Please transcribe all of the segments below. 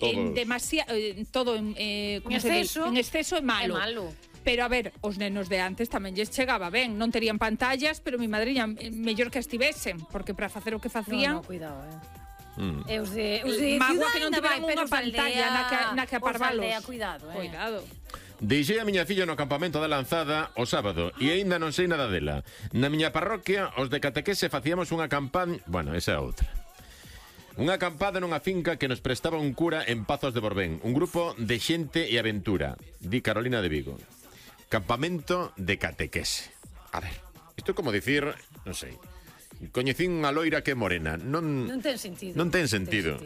en exceso é malo. Pero, a ver, os nenos de antes tamén lles chegaba ben. Non terían pantallas, pero mi madriña mellor que estivesen, porque para facer o que facían... No, cuidado, E os de Magua que non tiveran unha pantalla na que aparvalos. Cuidado. Deixei a miña filla no campamento da Lanzada o sábado e aínda non sei nada dela. Na miña parroquia, os de catequese facíamos unha campaña... Bueno, esa é outra. Unha acampada nunha finca que nos prestaba un cura en Pazos de Borbén. Un grupo de xente e aventura. Di Carolina de Vigo. Campamento de catequese. A ver, isto é como dicir, non sei, coñecín unha loira que é morena. Non ten sentido. Non ten sentido.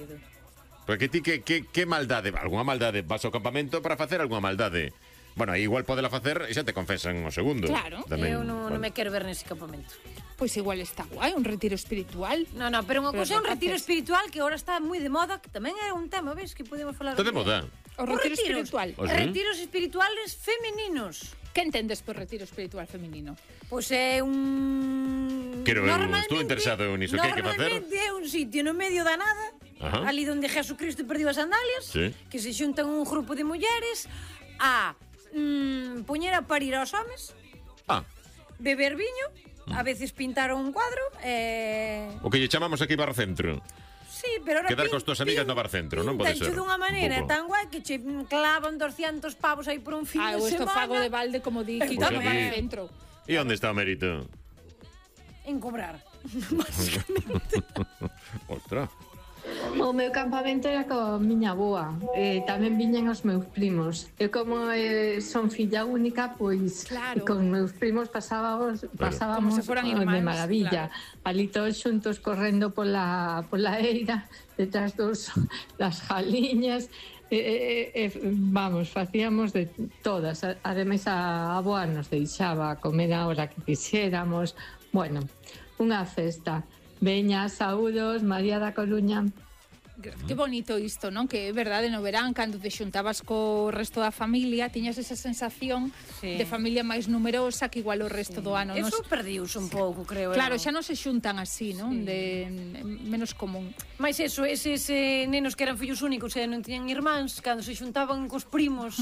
Porque ti que maldade, algunha maldade vas ao campamento para facer algunha maldade. Bueno, aí igual podela facer e xa te confesan o segundo. Claro. Eu non me quero ver nese campamento. Pois igual está guai, un retiro espiritual. No, pero unha cousa é un retiro espiritual que agora está moi de moda, que tamén é un tema, ves, que podemos falar. Está de moda. O retiro espiritual. Retiros espirituales femininos. Que entendes por retiro espiritual feminino? Pois é un... Estou interesado niso. Que hai que facer? Normalmente é un sitio no medio da nada, ali onde Jesucristo perdiu as sandalias, que se xuntan un grupo de mulleres a poñer a parir aos homes, beber viño, a veces pintar un cuadro. O que lle chamamos aquí Barcentro. Sí, pero ahora quedar cos tos amigas no Barcentro, non pode ser. Dunha maneira tan guai que che clavan 200 pavos aí por un fin de semana. O estofago de balde como di que no Barcentro. E onde está o mérito? En cobrar, basicamente. Ostras. O meu campamento era coa miña avoa, tamén viñen os meus primos. Eu como son filla única, pois con meus primos pasábamos de maravilla. Ali todos xuntos correndo pola eira, detrás das jaliñas, vamos, facíamos de todas. Ademais a avoa nos deixaba comer a hora que quixéramos. Bueno, unha festa. Veña, saúdos, María da Coruña. Que bonito isto, non? Que é verdade, no verán, cando te xuntabas co resto da familia, tiñas esa sensación de familia máis numerosa que igual o resto do ano. Eso perdiuse un pouco, creo. Claro, xa non se xuntan así, non? De menos común. Mais eso, eses nenos que eran fillos únicos e non tiñan irmáns, cando se xuntaban cos primos,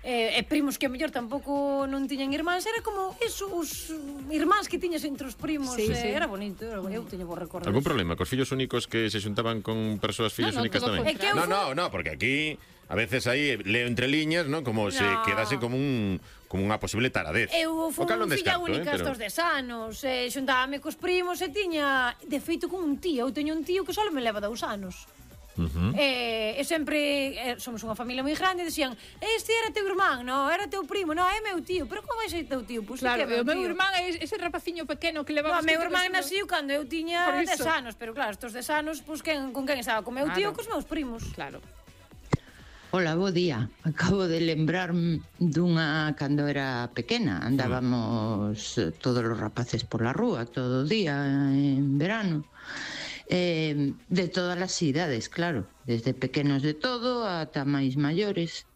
e primos que a mellor tampouco non tiñan irmáns, era como eso, os irmáns que tiñas entre os primos. Era bonito, eu teño bo recordo. Algún problema cos fillos únicos que se xuntaban con persoas fillas únicas tamén? No, porque aquí a veces aí leo entre liñas, ¿no? Como se quedase como unha posible taradez. Eu fui filla única estos 10 anos, xuntábame cos primos e tiña, de feito, con un tío. Eu teño un tío que só me leva 2 anos. E sempre somos unha familia moi grande e decían, este era teu irmán, no, era teu primo, no, é meu tío. Pero como vai ser teu tío? Claro, o meu irmán é ese rapaciño pequeno que levamos. O meu irmán naciu cando eu tiña 10 anos, pero claro, estos 10 anos, con quen estaba? Con meu tío, cos meus primos. Claro. Hola, bo día. Acabo de lembrarme dunha cando era pequena. Andábamos todos os rapaces pola rúa todo o día en verano. De todas as idades, claro, desde pequenos de todo ata máis maiores.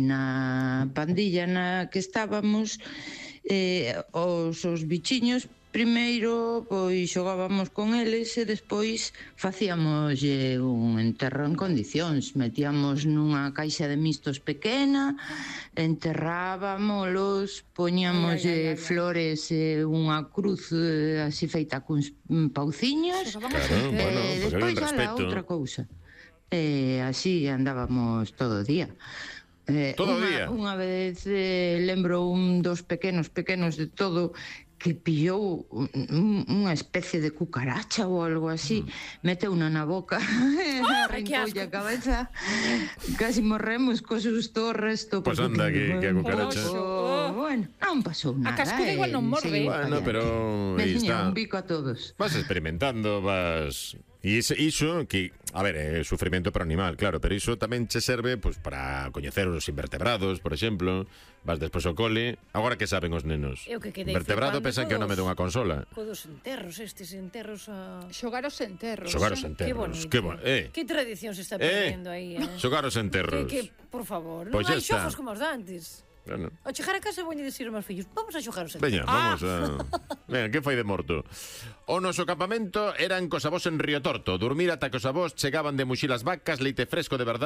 Na pandilla na que estábamos, os bichiños primeiro pois xogábamos con eles e despois facíamos un enterro en condicións, metíamos nunha caixa de mistos pequena, enterrábamolos, poñíamos flores e unha cruz así feita cuns pauciños, despois a outra cousa. Así andábamos todo o día. Todo o día? Unha vez lembro un dos pequenos de todo que pillou unha especie de cucaracha ou algo así, meteuna na boca, arrancoulle a cabeza, casi morremos co susto o resto. Pois anda, que a cucaracha. Bueno, non pasou nada. A cascuda igual non morde. Bueno, pero aí está. Un bico a todos. Vas experimentando, vas... E iso que, a ver, é sufrimento para o animal, claro, pero iso tamén che serve pues, para coñecer os invertebrados, por exemplo. Vas despois ao cole. Agora que saben os nenos? Invertebrado pensan que é o nome dunha consola. Codos enterros, estes enterros a... Xogar os enterros. Xogar os enterros. Que bonito. Que tradición se está perdendo aí, Xogar os enterros. Por favor, non hai xogos como os dantes. Bueno. Ao chegar a casa voñe dicir aos meus fillos, vamos a xogar os enterros. Veña, vamos a... Venga, que fai de morto? O noso campamento eran cos avós en Río Torto. Dormir ata que os avós chegaban de muxir as vacas, leite fresco de verdade.